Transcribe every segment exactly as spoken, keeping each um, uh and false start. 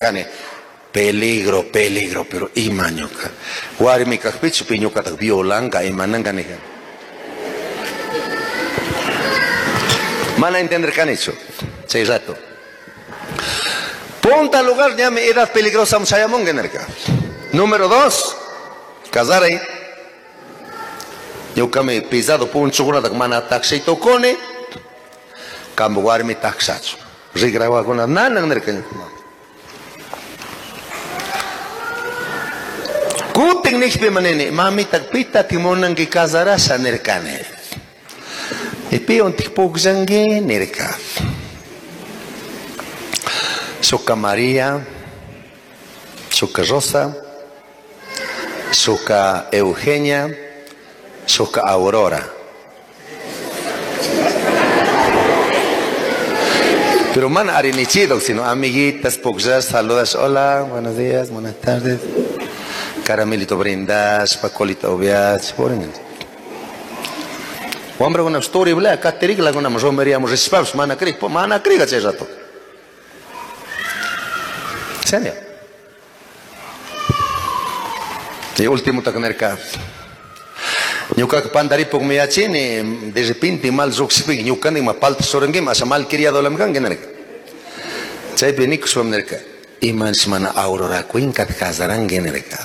Peligro, peligro, pero ima ñuka. Warmi kaqpichu pi ñuqataq violanqa imananqa niqa. Mana entenderqanichu chay rato. Punta lugar ñami edad peligrosa chayamunqa nirqa. Número dos, casaray. Ñuqami pisado punchukunataq mana takshay tukuni. Kampu warmi takshachu. Riqrawakuna nanan nirqa ñuqa. Kutin nishpi manini, mamita pita timunanki casarasha nirkani. Y piwan pukllanki nirka. Shuka María, shuka Rosa, shuka Eugenia, shuka Aurora. Pero mana arinichido, sino amiguitas, pukllas, saludas, hola, buenos días, buenas tardes. Caramelito brindas, pacolito obias, poren. Hombre, una story bla, caterigla con una romería, rispaps, mana cri, mana cri, chay rato. Serio. Y último taknerka. Ñuka pandaripuk miyachini, de repente mal ruxipik, ñuka ni ma palta sorengim, asa mal criado lamkan generka. Chaypi nikuswam nerka. Iman mana Aurora cuincat casaran generka.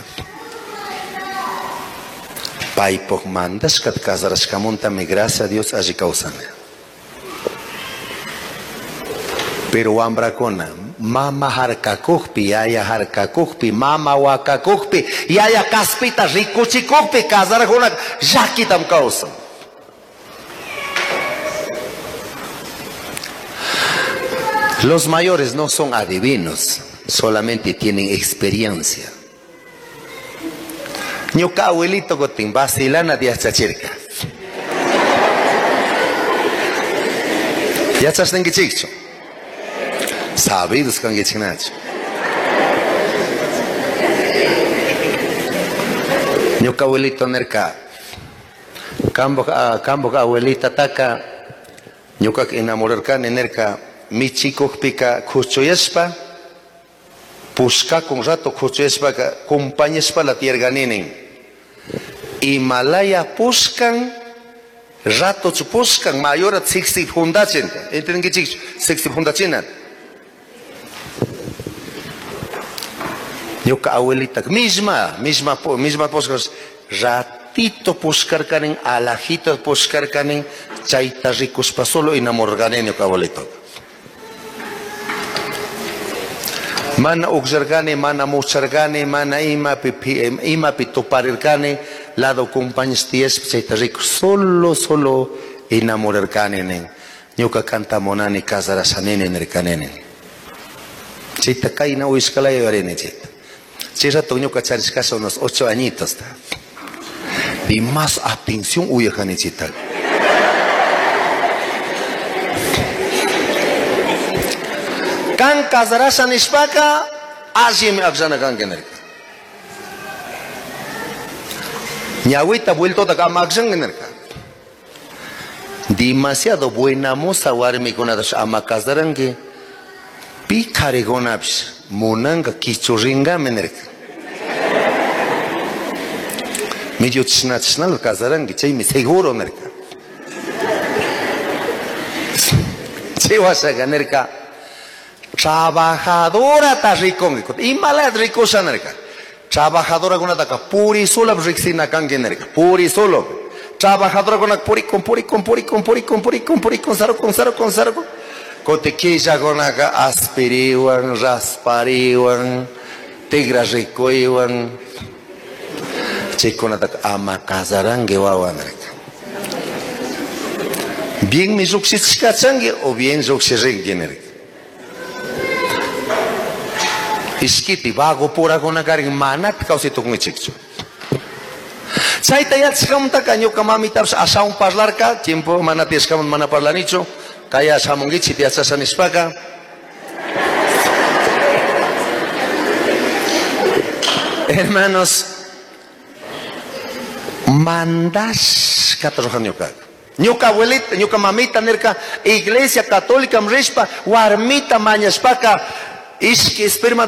Paipok mandashkat casarashkamunta mi gracias a Dios allí causana. Pero wambrakuna, mama harkakukpi, yaya harkakukpi, mama wakakukpi, yaya kaspita rikuchikukpi, casarajuna llakitam kawsan. Los mayores no son adivinos, solamente tienen experiencia. Ñuka abuelito gotin vacilana yachachirka. Yachasninkichikchu. Sabidos kankichiknachu. Ñuka abuelito nirka. Kambuj kambuj abuelita taka ñuka enamorarkani nirka michikukpika kuchuyashpa pushkakun rato kuchuyashpaka compañashpa la tierganinin. Himalaya pushkan rato pushkan mayora sixty fundachin. ¿Entendinkichikchu? Sixty fundachina. Ñuka abuelita misma, misma, misma pushkas ratito pushkarkanin, alajito pushkarkanin, chayta rikuspa solo enamorganin ñuka abuelito. Mana uqllarqani, mana mucharqani, mana imapi imapi tuparirqani, lado compañes tiyaspa chayta rikus solo solo enamorarqani nin. Ñuka kanta munani casarashanini nirqani nin. Chayta kayna uyashkalaya yuyarini chayta. Chay rato ñuka charishkasha unos ocho añitos. Y más atención uyajani chayta. Kan casarasha nishpaka allimi akllana kanki nirka. Ñawita vueltota ama akllanki nirka. Demasiado buena moza warmikunatash ama casaranki. Pi qarikunapish munanka kichurrinkami nirka. Medio chishna chishnala casaranki chaymi seguro nirka. Chay washaka nirka. Trabajadora ta rikunki. Imala rikusha nirka. Trabajadora kunataka puri solo riksina kanki nirka. Puri solo. Trabajadora kunaka purikun purikun purikun purikun purikun purikun sarukun sarukun sarukun. Kote killa kunaka aspiriwan, raspariwan, tigra rikuywan. Chaykunataka ama casaranki wawa nirka. Bien mi lluqshichkachanki o bien lluqshirinki nirka. Ishkiti vago purakuna karin manapi kawsay tukunkichikchu. Chayta yachashkamantaka ñuka mamitapish ashawan parlarka, tiempo mana tiyashkaman mana parlanichu, kaya shamunkichik yachasha nishpaka. Hermanos, mandashkata rujan ñukaka. Ñuka abuelita, ñuka mamita nirka, iglesia católica rishpa, warmita mañashpaka, ishki esperma